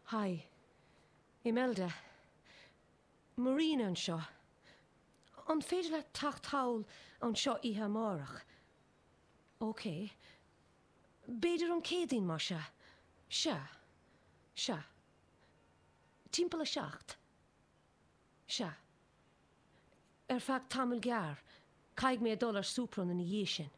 Hi. Imelda. Marina anseo. An féidir leat teacht thall anseo oíche amárach? Ok. B'fhéidir an Céadaoin, más ea? Sea. Sea. Timpeall a 7. Sea. Ar feadh tamall gearr. Caithfidh mé dul ar Sopron ina dhiaidh sin.